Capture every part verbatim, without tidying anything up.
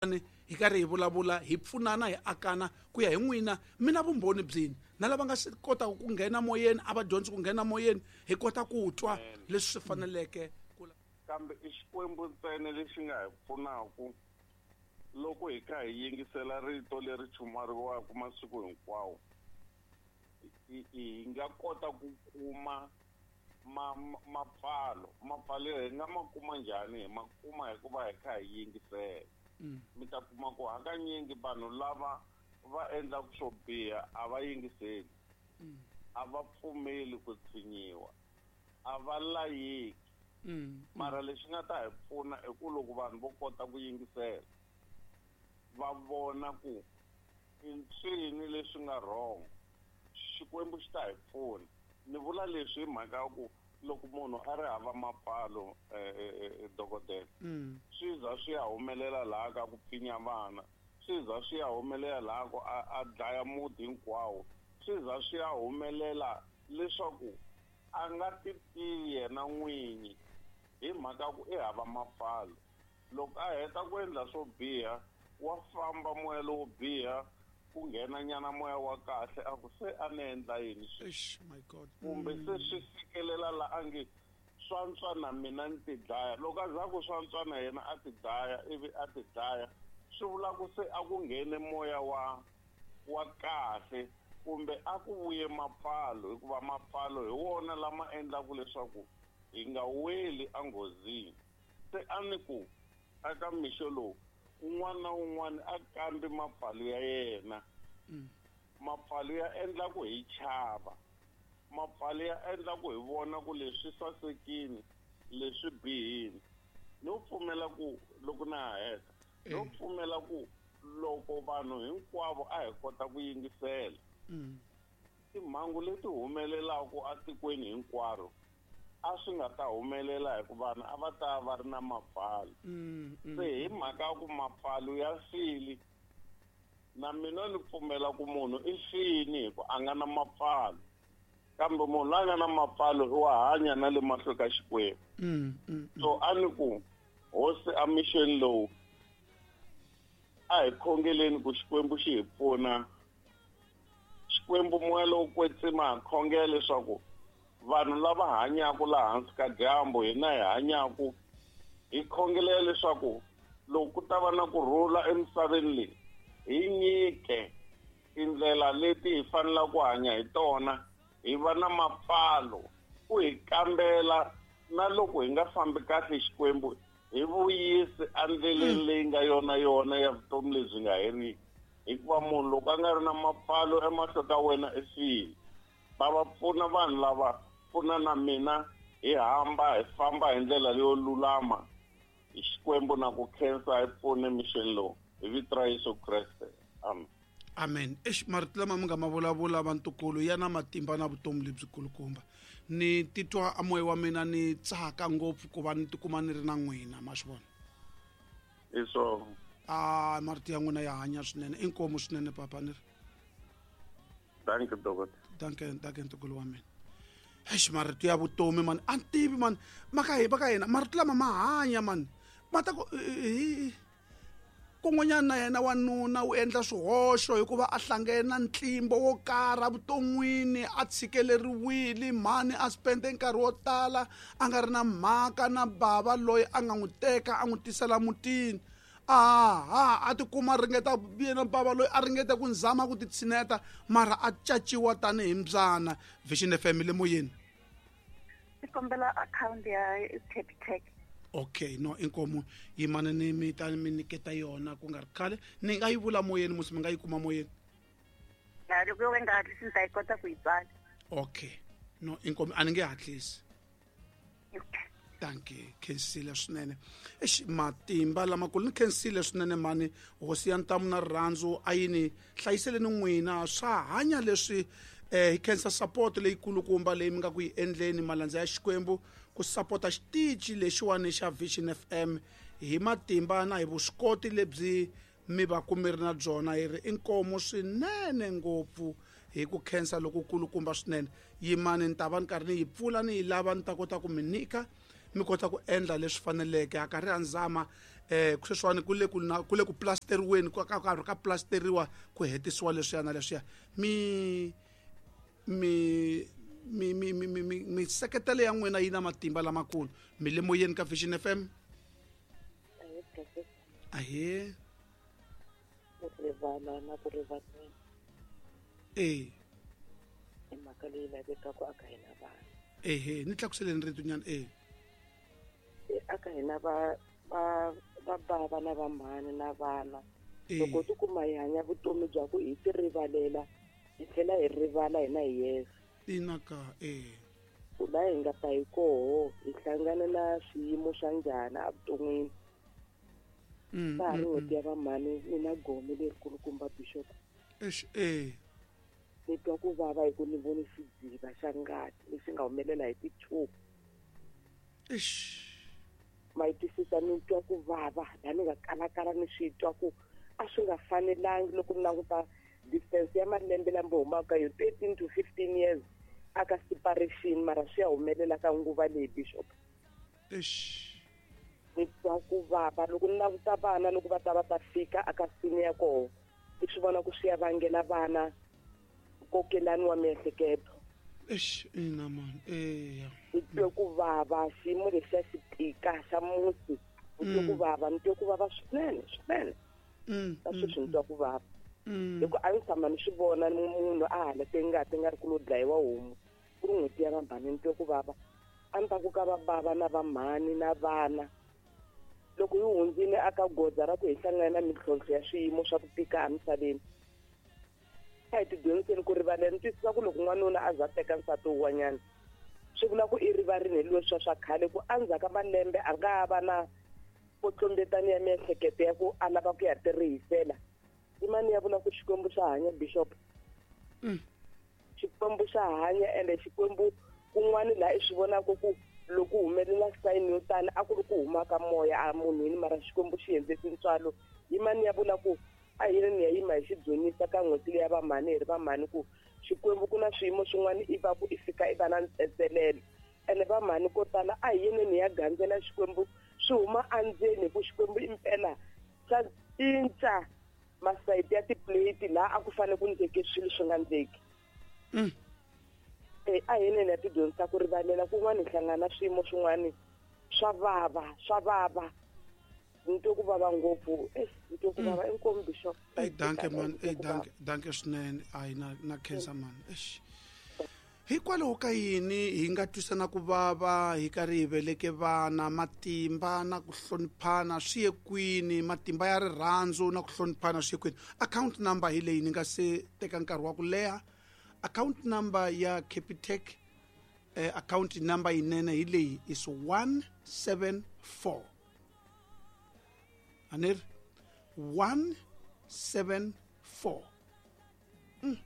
Hi karhi hi vulavula, hi pfunana, hi akana ku ya hi n'wina. Mi na vumbhoni byini na lava nga swi kotaka ku nghena moyeni, a va dyondzi ku nghena moyeni, hi kota ku twa leswi swi faneleke ku. Kambe i Xikwembu ntsena lexi nga hi pfunaka loko hi kha hi yingisela rito leri chumariwaka masiku hinkwawo. Hi nga kota ku kuma mapfalo. Mapfalo hi nga ma kuma njhani? Hi ma kuma hikuva hi kha hi yingisela. Mi ta kuma ku hakanyingi vanhu lava va endlaka swo biha a va yingiseli, a va pfumeli ku tshinyiwa, a va layeki. Mara lexi nga ta hi pfuna i ku loko vanhu vo kota ku yingisela, va vona ku i ncini leswi nga wrong, Xikwembu xi ta hi pfuna. Ni vula leswi hi mhaka ya ku loko munhu a ri hava mapfalo, dokodela, swi za swi ya humelela laha ka ku pfinya vana, swi za swi ya humelela laha ku a dlaya muti hinkwawo, swi za swi ya humelela leswaku a nga ti tivi yena n'winyi hi mhaka ku i hava mapfalo. Loko a heta ku endla swo biha, wa famba moya lowo biha, ku nghena nyana moya wa kahle, a ku se a ni endla yini sweswi, my God, kumbe se swi fikelela la a nge swantswa na mina ni ti dlaya. Loko a za ku swantswa na yena a ti dlaya, ivi a ti dlaya, swi vula ku se a ku nghene moya wa wa kahle, kumbe a ku vuye mapfalo, hikuva mapfalo hi wona lama endlaka leswaku hi nga weli enghozini. Se a ni ku aka mixo lowu, un'wana na un'wana a kambi mapfalo ya yena. Mapfalo ya endla ku hi chava, mapfalo ya endla ku hi vona ku leswi sasekini, leswi bihini. No pfumela ku loko na ha heta, no pfumela ku loko vanhu hinkwavo a hi kota ku yingisela timhangu leti humelelaka etikweni hinkwaro, a swi nga ta humelela hikuva vanhu a va ta va ri na mapfalo. Se hi mhaka ya ku mapfalo ya fili, na mina ni pfumela ku munhu i fini hi ku a nga na mapfalo, kambe munhu loyi a nga na mapfalo i wa hanya na le mahlweni ka Xikwembu. So a ni ku hosi a mixeni lowu, a hi khongeleni ku Xikwembu xi hi pfuna. Xikwembu moya lowo kwetsima ha khongela leswaku vanhu lava hanyaka laha hansi ka dyambu, hina hi hanyaka, hi khongelela leswaku loko ku ta va na ku rhula emisaveni leyi, hi nyike tindlela leti hi fanelaka ku hanya hi tona, hi va na mapfalo, ku hi kambela na loko hi nga fambi kahle Xikwembu, hi vuyisi endleleni leyi nga yona yona ya vutomi lebyi nga heriki. Hikuva munhu loko a nga ri na mapfalo emahlweni ka wena i file. Va va pfuna vanhu lava, pfuna na mina, hi hamba hi famba hi ndlela leyo lulama. Hi Xikwembu na ku khensa, hi pfune mixeni lowu hi vito ra Yesu Kreste. Amen. Amen. Eish, marito lama mi nga ma vulavula vantukulu ya na matimba na vutomi lebyikulukumba. Ni titwa a moya wa mina ni tsaka ngopfu ku va ni tikuma ni ri na n'wina, ma swi vona? Hi swona. Ah, marito ya n'wina ya hanya swinene, inkomu swinene papa ni ri. Danke dokotela. Danke, danke ntukulu wa mina. Eish, marito ya vutomi man, a ni tivi man, maka hi va ka hina marito lama ma hanya man. Ma ta ku hi kun'wanyana na yena wanuna u endla swihoxo hikuva a hlangene na ntlimbo wo karhi evuton'wini, a tshikeleriwile mhani, a spende nkarhi wo tala a nga ri na mhaka na bava loyi a nga n'wi teka a n'wi tisela mutini. Aha, a tikuma ringeta yena bava loyi a ringeta ku nzama ku titshineta, mara a caciwa tanihi mbyana. Vision F M le moyeni. Ni kombela account ya Capitec. Okay, no inkomu yimana ni mi ta mi nyiketa yona ku nga ri khale. Ni nga yi vula moyeni musi, mi nga yi kuma moyeni? Ya, loko yo nga hatlisi ni ta yi kota ku yi tsala. Okay, no inkomu a ni nge hatlisi. Okay. Danke, khensile swinene. Eish, matimba lamakulu ni khensile swinene mani. Hosi ya ntamu na rirhandzu a yi ni hlayiseleni n'wina swa hanya leswi. Eh, hi khensa support leyikulukumba leyi mi nga ku yi endleni malandza ya Xikwembu ku sapota xitichi lexiwani xa Vision F M hi matimba na hi vuswikoti lebyi mi va ku mi ri na byona. Hi ri inkomu swinene ngopfu hi ku khensa lokukulukumba swinene. Yimani ni ta va ni karhi ni yi pfula ni yi lava ni ta kota ku mi nyika, mi kota ku endla leswi faneleke. A karhi a nzama eh sweswiwani ku le ku na ku le ku plasteriweni ka ka ka plasteriwa ku hetisiwa leswiya na leswiya mi mi mi mi mi mi mi seketelo ya n'wina yi na matimba lamakulu mi le moyeni ka Vision F M ahe ku rivala na ku rivalela eh i mhaka leyi lavekaka aka hina vanhu ehe ni tlakuseleni rito nyana eh aka hina va va va bava na vamhani na vana loko tikuma hi hanya vutomi bya ku hi ti rivalela hi tlhela hi rivala hina hi yexe inaka eh ku la hi nga ta hi koho hi hlangana na swiyimo swa njhani evuton'wini ka ha ri n'hweti ya vamhani ni na gome lerikulukumba bishop eish eh ni twa ku vava hi ku ni vone xidziva xa ngati lexi nga humelela hi ti-two eish ma yi twisisa ni twa ku vava laha ni nga kalakala ni swi twa ku a swi nga fanelangi loko ni languta distance ya malembe lama humaka yo thirteen to fifteen years aka separation mara swi ya humelela ka nguva leyi bishop eish ni twa ku vava loko ni languta vana loko va ta va ta fika aka sini ya koho ni swi vona ku swi ya vangela vana nkokelani wa miehleketo eish ina man eya ni twe ku vava xiyimo lexiya xi tika xa musi ni twe ku vava ni twe ku vava swinene swinene ka sweswi ni twa ku vava hi ku a ni tshama ni swi vona munhu a halate ngati nga ri ku lo dlayiwa homu ku ri n'hweti ya vamhani ni twe ku vava a ni ta ku ka va bava na vamhani na vana loko yi hundzile aka goza ra ku hi hlangana na mintlhontlho ya swiyimo swa ku tika emisaveni a hi tidyondziseni ku rivalela ni twisisa ku loko n'wanuna a za teka nsati wun'wanyana swi vula ku i rivarini hi leswiya swa khale ku endzhaku ka malembe a nga ha va na kotlombetani ya miehleketo ya ku a lava ku ya tirihisela i mani ya vula ku Xikwembu xa hanya bishop Xikwembu xa hanya ende Xikwembu kun'wani laha i swi vonaka ku loko humelela sign yo tani a ku ri ku huma ka moya a munhwini mara Xikwembu xi endle tintswalo i mani ya vula ku a hi ni ya yima hi xi dzunisa ka n'hweti leyi ya vamhani hi ri vamhani ku Xikwembu ku na swiyimo swin'wana i va ku i fika i va na ntsetselelo ene vamhani ko tala a hi yeneni ya gandzela Xikwembu swi huma endzeni hi ku Xikwembu impela xa cinca masayiti ya tiplate laha a ku fanele ku ndleke swilo swi nga ndleki e a hi yeneni ya tidyondzisa ku rivalela kun'wana hi hlangana na swiyimo swin'wana swa vava swa vava ni twe ku vava ngopfu eh ni twe ku vava inkomu bishop ey danke man ey danke danke swinene ayi na na khensa man eish hikwalaho ka yini hi nga twisana ku vava hi karhi hi veleke vana matimba na ku hloniphana swi ye kwini matimba ya rirhandzu na ku hloniphana swi ye kwini account number hi leyi ni nga se teka nkarhi wa ku leha account number ya Capitec eh, account number yinene hi leyi is one seven four anir one seven four mm.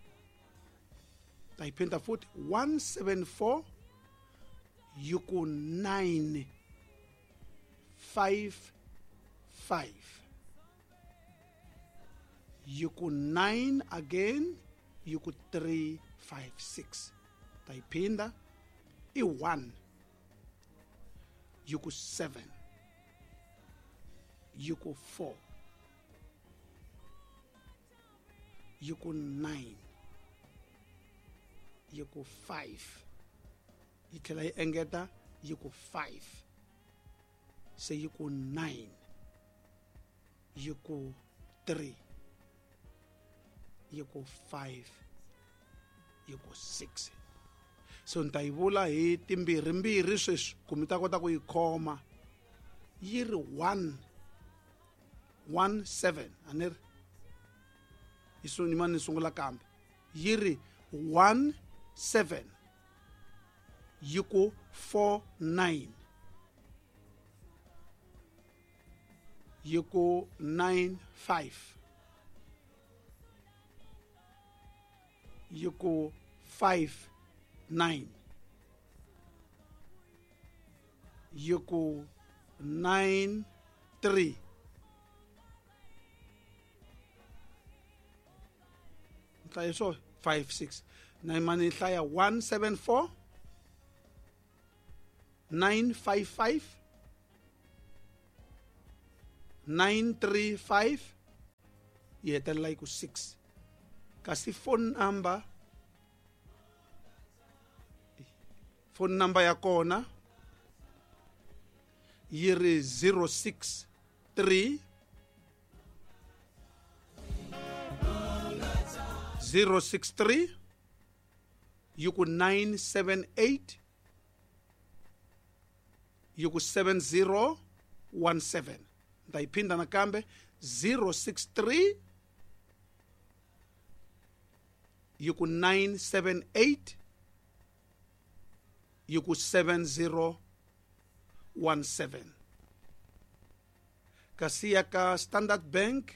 Ta yi phinda futhi one seven four yi ku nine five five yi ku nine again yi ku three five six ta yi phinda i one yi ku seven yi ku four yi ku nine yi ku five yi tlhela yi engeta yi ku five se yi ku nine yi ku three yi ku five yi ku six so ni ta yi vula hi timbirhimbirhi sweswi ku mi ta kota ku yi khoma yi ri one one seven a ni ri yi ni mani ni sungula kambe yi ri one seven yi ku four nine yi ku nine five yi ku five nine yi ku nine three nhlayo swo five six na mani hlaya one seven four nine five five nine three five yi hetelela yi ku six. Kasi phone number phone number ya kona yi ri zero six three zero six three yi ku nine seven eight yi ku seven zero one seven. Ni ta yi phinda nakambe zero six three yi ku nine seven eight yi ku seven zero one seven. Kasi ya ka Standard Bank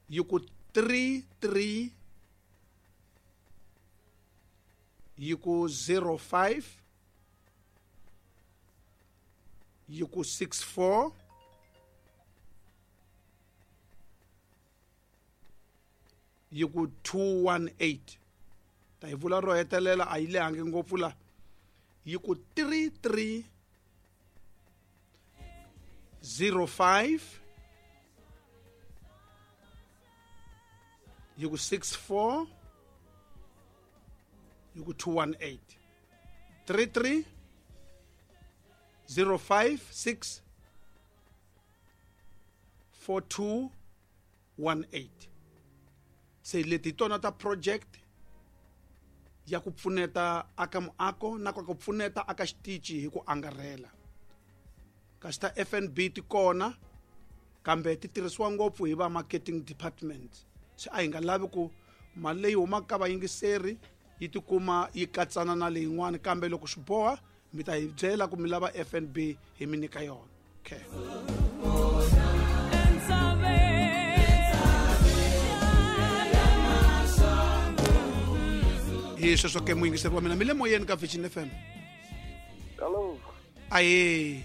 yi ku three three yi ku zero five yi ku six four yi ku two one eight. Ta yi vula ro hetelela a yi lehangi ngopfu la yi ku three three zero five yi ku six four yi ku two one eight. three three zero five six four two one eight. Se leti tona ta project ya ku pfuneta aka muako na ku pfuneta aka xitichi hi ku angarhela. Kasi ta F N B ti kona kambe ti tirhisiwa ngopfu hi va marketing department. Se a hi nga lavi ku mali leyi humaka ka vayingiseri yi tikuma yi katsana na leyin'wana, kambe loko swi boha mi ta hi byela ku mi lava F N B hi mi nyika yona. Okay. Hi sweswo ke muyingiseri wa mina mi le moyeni ka Vision F M. Hello. Aye.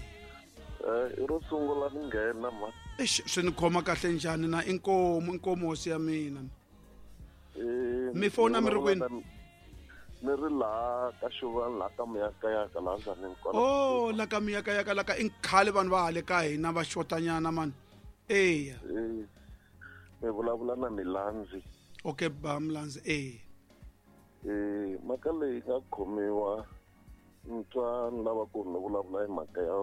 Eh, i ro sungula ni nghena ma. Eish, swi ni khoma kahle njhani na inkomu inkomu hosi ya mina. Eh, mi fona mi ri kwini? Ni ri laha ka Xuvani laha ka Muyakayaka laha Ndzhanini kwala. Oh, la ka Muyakayaka la ka i khale vanhu va hale ka hina va xotanyana mani. Eya. Eh, mi vulavula na Milandzi. Okay, ba Milandzi, eh. Eh, mhaka leyi nga khomiwa ni twa ni lava ku ni vulavula hi mhaka ya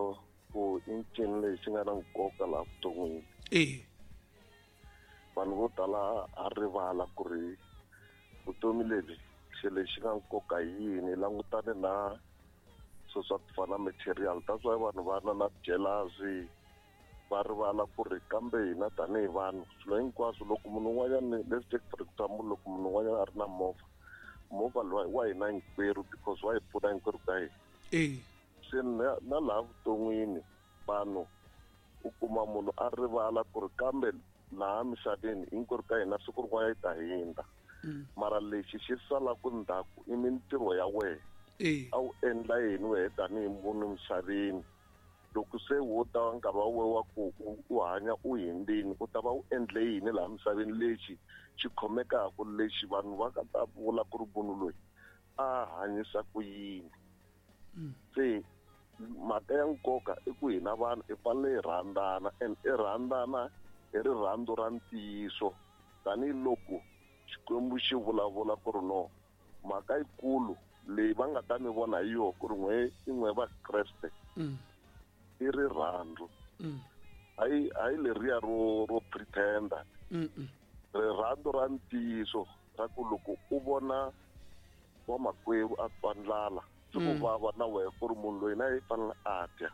ku i ncini lexi nga na nkoka laha vuton'wini. Eh. Vanhu vo tala a rivala ku ri vutomi lebyi xilo lexi nga nkoka yini, langutane na swilo swa ku fana na material. That's why vanhu va na na jealousy, va rivala ku ri kambe hina tanihi vanhu swilo hinkwaswo loko munhu un'wanyana, let's take for example, loko munhu un'wanyana a ri na movha, movha loyi wa hina hinkwerhu because wa hi pfuna hinkwerhu ka hina. Eh. Se na na laha vuton'wini vanhu u kuma munhu a rivala ku ri kambe laha misaveni hinkwerhu ka hina siku rin'wana yi ta hindza. Mara lexi xi salaka ndzhaku i mintirho ya wena. Eh. A wu endla yini wehe tanihi munhu misaveni? Loko se wo ta nkarhi wa wena wa ku u hanya u hindzini, u ta va u endle yini laha misaveni lexi xi khomekaka, lexi vanhu va nga ta vula ku ri munhu loyi a hanyisa ku yini. Se mhaka ya nkoka i ku hina vanhu hi fanele hi rhandzana, and i rhandzana hi rirhandzu ra ntiyiso tanihiloko Xikwembu xi vulavula ku ri no mhaka yikulu leyi va nga ta mi vona hi yona ku ri n'we i n'we va Kreste i rirhandzu. Hayi hayi leriya ro ro pretender. Rirhandzu ra ntiyiso ra ku loko u vona wa makwerhu a twa ndlala swi ku vava na wena ku ri munhu loyi na yi fanele a dya.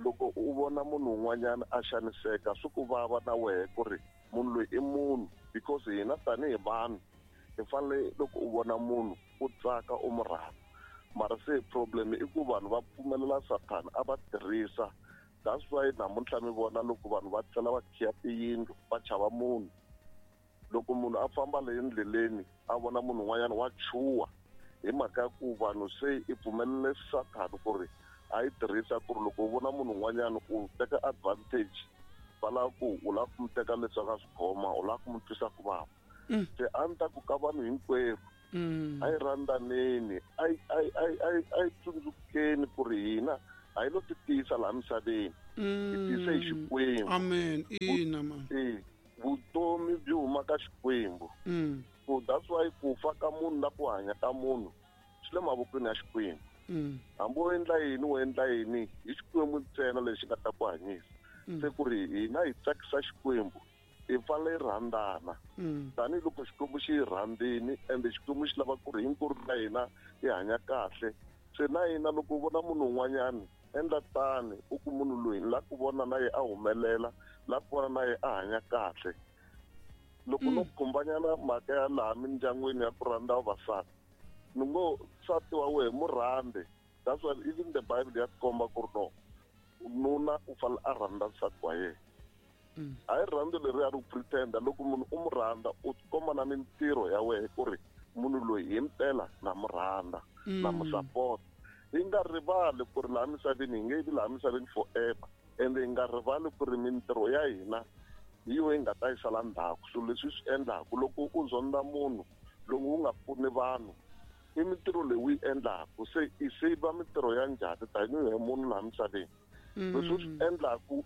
Loko u vona munhu un'wanyana a xaniseka swi ku vava na wena ku ri munhu loyi i munhu, because hina tanihi vanhu hi fanele loko u vona munhu u tsaka u mu rhandza. Mara se problem i ku vanhu va pfumelela Sathana a va tirhisa. That's why namuntlha mi vona loko vanhu va tlhela va khiya tiyindlu va chava munhu. Loko munhu a famba le endleleni a vona munhu un'wanyana wa chuha hi mhaka ya ku vanhu se i pfumelele Sathana ku ri a yi tirhisa ku ri loko u vona munhu un'wanyana u teka advantage, va lava ku u lava ku mu teka leswi a nga swi khoma, u lava ku mu twisa ku vava. Se a ni ta ku ka vanhu hinkwerhu a yi rhandzaneni, a yi a yi a yi a yi a yi tsundzukeni ku ri hina a hi lo ti tiyisa laha misaveni. Hi tise hi Xikwembu. Amen. Ina man. Eh, vutomi byi huma ka Xikwembu. Mm. So that's why ku fa ka munhu na ku hanya ka munhu swi le mavokweni ya Xikwembu. Mm. Hambi u endla yini u endla yini hi Xikwembu ntsena lexi nga ta ku hanyisa. Se ku ri hina hi tsakisa Xikwembu hi fanele hi rhandzana. Tanihiloko Xikwembu xi hi rhandzini ende Xikwembu xi lava ku ri hinkwerhu ka hina hi hanya kahle. Se na hina loko u vona munhu un'wanyana endla tani u ku munhu loyi ni lava ku vona na yena a humelela, lava ku vona na yena a hanya kahle. Loko no khumbanyana mhaka ya laha mindyangwini ya ku rhandza vavasati, ni ngo nsati wa wena mu rhandze. That's why even the Bible ya komba ku ri no nuna u fanele a rhandza nsati wa yena. A hi rhandzu leri a ri pretenda loko munhu u mu rhandza u komba na mintirho ya wena ku ri munhu loyi hi mpela na mu rhandza na mu support. Hi nga rivali ku ri laha misaveni hi nge vi laha misaveni forever, ende hi nga rivali ku ri mintirho ya hina hi yo yi nga ta yi sala ndzhaku. Swilo leswi swi endlaku loko u zonda munhu loko u nga pfuni vanhu i mintirho leyi u yi endlaku se i save mintirho ya njhani tanihi munhu laha misaveni. Leswi u swi endlaku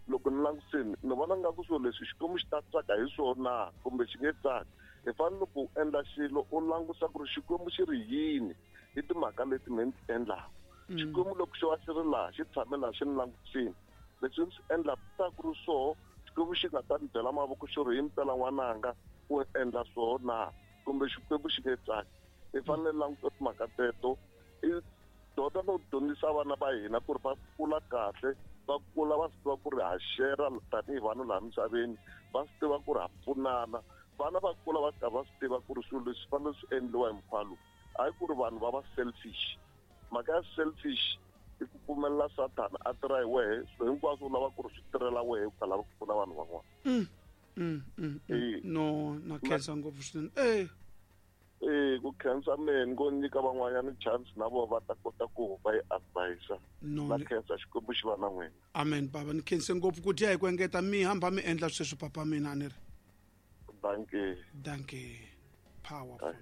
loko ni langutisini ni vona nga ku swilo leswi Xikwembu xi ta tsaka hi swona kumbe xi nge tsaki. Hi fanele loko u endla xilo u langusa ku ri Xikwembu xi ri yini hi timhaka leti me ni ti endlaku. Xikwembu loko xo va xi ri laha xi tshame laha xi ni langutisini leswi ni swi endlaku ta ku ri swoho Xikwembu xi nga ta ni byela mavoko xi ri hi mpela n'wananga u endla swoho na kumbe Xikwembu xi nge tsaki. Hi fanele languta timhaka teto i dyondza no dyondzisa vana va hina ku ri va kula kahle, va kula va swi tiva ku ri ha share tanihi vanhu laha misaveni, va swi tiva ku ri ha pfunana. Vana va kula va karhi va swi tiva ku ri swilo leswi fanele swi endliwa hi mukhuva lowu. Hayi ku ri vanhu va va selfish. Mhaka ya selfish i ku pfumelela Sathana a tirha hi wehe, swilo hinkwaswo u lava ku ri swi tirhela wehe u nga lavi ku pfuna vanhu van'wana. Mm, mm, mm, mm. No, na khensa ngopfu swinene. Eh. Eh, ku khensa mina ngo nyika van'wanyana chance na vona va ta kota ku va yi advise. No, Na khensa Xikwembu xi va na n'wina. Amen baba, ni khense ngopfu ku dya hi ku engeta mi hamba mi endla sweswo papa mina a ni ri. Dankie. Dankie. Powerful.